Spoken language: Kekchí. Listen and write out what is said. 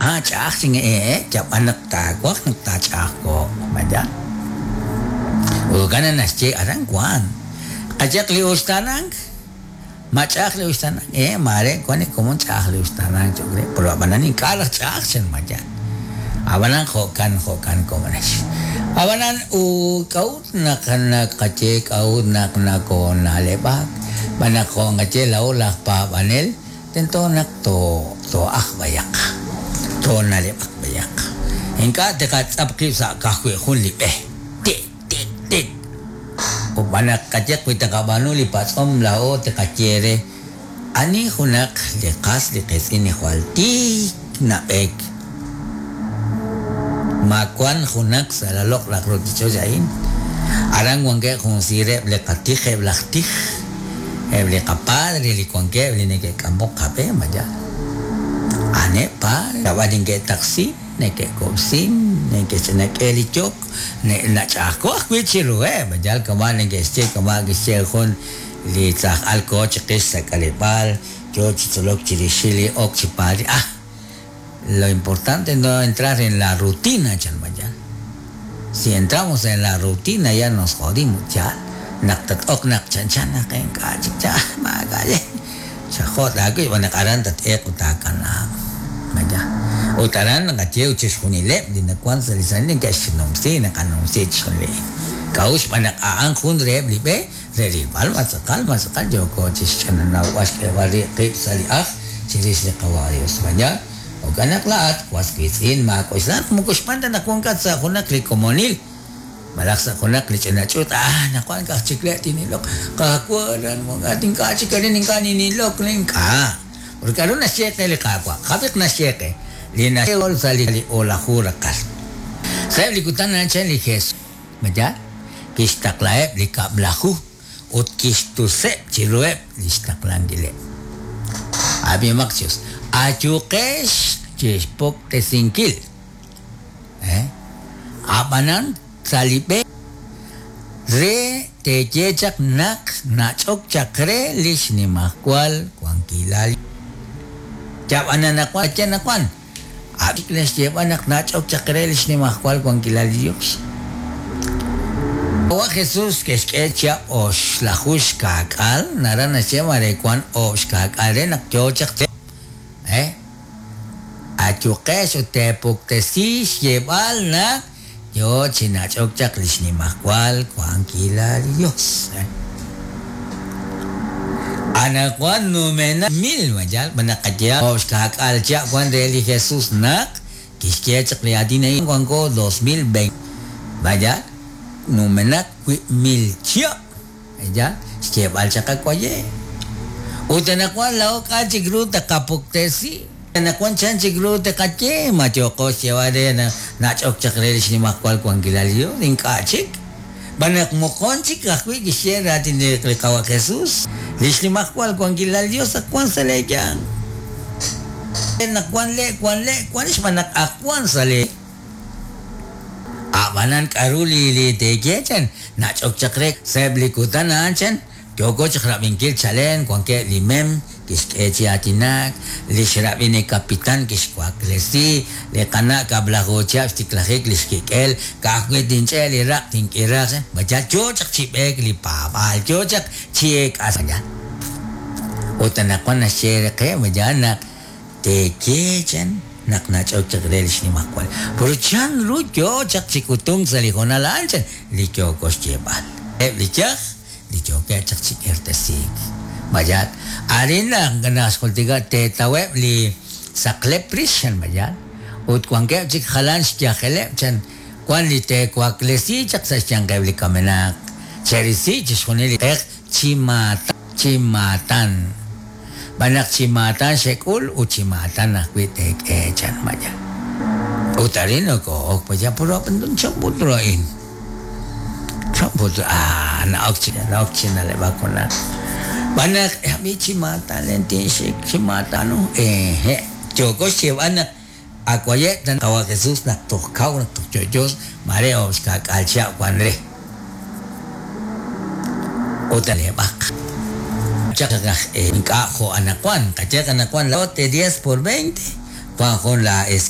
Ah, ch'a'aj chin ee, yab'an naq taawaj naq taach'a'ajko'q, ma yaal? Jo'kan naq naxye aran wank. Qayehaq li uxtaanank, ma ch'a'aj li uxtaanank? Ee, maare wank li komon ch'a'aj li uxtaanank cho'q re, pero ab'anan ink'a' raj ch'a'aj chan, ma yaal? Ab'anan jo'kan, jo'kan komonex. Ab'anan u k'a'ut naq naqaye k'a'ut naq nakoona'leb'ak? Xb'aan naq jo' nqaye laa'o laj paab'anel, Tento naq too'ajq b'ayaq, toona'leb'aq b'ayaq. Ink'a' tiqatz'ap qib' sa' ka'ajwi' jun li b'e. Tik, tik, tik. Ut b'an naq qayehaq wi taqab'aanu li patz'om laa'o tiqaye re, Ani junaq li qas li qiitz'in li jwal tiik nab'eek? Ma wank junaq sa' la loq'laj ruuchich'och' a'in? Aran wankeb' jun siireb' li qatij eb' laj tij. Eb' li qapadre li wankeb' li neke'k'amok qab'e, ma yaal? A'aneb' padre, ab'an neke'taqsin, neke'kub'sin, neke'xnak'e li yok, nach'a'ajko' ajwi' chiruheb', ma yaal? Kama' neke'xye, kama' kixye jun li tz'aj al koho chiqix sa' k'aleb'aal, yoo chi tzolok chirixil li ok chi padre, ah! Lo importante no entrar en la rutina, chan ma yaal. Si entramos en la rutina ya nos jodimos, yaal. Naq tat-ok naq chanchan naq ink'a' chik yaal, maak'a' le. Xajot' aawib' xb'aan naq aran tat-eeq ut taakanaaq. Ma yaal. Ut aran naqaye ut chixjunileb' li nawank sa' li Santil neke'xnumsi, naqanumsi chixjunil a'in. K'a'ut? Xb'aan naq a'an jun reheb' li b'e re rilb'al ma tz'aqal, ma tz'aqal yooko chixch'ananawb'al xk'eeb'al rib' qib' sa' li ajl chirix li Qawa' Dios. Ma yaal? Jo'kan naq laa'at, was wiitz'in, maak'oxla naq moko xb'aan ta naq wankat sa' junaq li komonil malaj sa' junaq li ch'ina ch'uut, Ah, naq wank aj chik le' tin'iloq, Qaawa', aran wankat, ink'a' chik arin ink'a' nin'ilok, ink'a'. Ut k'a'ru naxye qe li Qaawa'? Qab'iq naxye qe li naxye sa' li o'laju raqal. Sa'eb' li kutan a'an chan li Jesus. Ma yaal? Kixtaqlaheb' li Kab'laju ut kixtuseb' chiruheb' li xtaqlankileb'. Ab'ihomaq chi us, ayuqex chi xpuktesinkil, a'b'anan sa' li b'e re teeye chaq naq nach'ok chaq re li xnimajwal wankilal. Yab'an anaqwan, anaqwan. A' chik naxyeeb'al naq nach'ok chaq re li xnimajwal wankilal li Yos. Qawa' Jesús ke'xk'e chihab' oxlaju xkaak'aal, naraj naxye mare wank oob' xkaak'aal re naq yo chaq chi e Ayuqex ut teepuktesi xyeeb'al naq yo chi nach'ok chaq li xnimajwal wankilal li Yos. Anaqwan numenaq mil ma yaal ma naqaye oob' xkaak'aal chihab' wan re li Jesús naq kixye chaq li aatin a'in wanko 2020 ma yaal numenaq wiib' mil chihab' ma yaal xyeeb'al chaq awaye'. Ut anaqwan laa'o k'a' chik ru taqapuktesi? Anaqwan chan chik ru taqaye? Ma yooqo xyeeb'al re naq nach'ok chaq re li xnimajwal wankilal li Yos? Ink'a' chik. Xb'aan naq moqon chik ajwi' kixye raatin li Qawa' Jesus, Li xnimajwal wankilal li Yos ak wank sa' leeyanq. Naq wank le', wank le', wank xb'aan naq ak wank sa' lee. A'b'anan k'aru li teeye chan, nach'ok chaq re sa'eb' li kutan a'an chan, Yooko chaq rab'inkil chalen wankeb' li mem kixk'e chi aatinak, li xrab'in li kapitan kixwaklesi li qana' kab'laju chihab' xtiklajik li xkik'el, ka'ajwi' tinch'e' li raq' tink'iraq, ma yal yo chaq chi b'eek li paab'aal, yo chaq chi eek'as. Ut anaqwan naxye re qe, ma yaal naq teeye chan naq nach'ok chaq re li xnimajwal. Pero chan ru yo chaq chi k'utunk sa' li hoonal a'an chan li yooko xyeeb'al. Eb' li yaj li yookeb' chaq chi k'irtesiik. Mayal, arin naq naxjultika teetaweb' li saqlep rix, chan mayal, ut wankeb' chik jalan xyajeleb', chan, wan li teewaklesi chaq sa' xyanqeb' li kamenaq, cherisi chixjunil li q'eq chi maatan, chi maatan. Xb'aan naq chi maatan xek'ul ut chi maatan ajwi' teek'e, chan mayal. Ut arin nokoo'ok mayal, puro chan put ru a'in. Chan put ru, ah, na'ok chi, na'ok chi na'leb'ak junaq. Xb'aan naq ab'i chi maatan len tinxik, chi maatan u, ehe', yooko xyeeb'al naq ak waye' ta Qawa' Jesús naq toj kaw, naq toj yo'yo, maare oob' xka'k'aal chihab' wan re. Ut na'leb'aq chaq aj ink'a' jo' anaqwan, qayehaq anaqwan lote diez por veinte, wan jun la.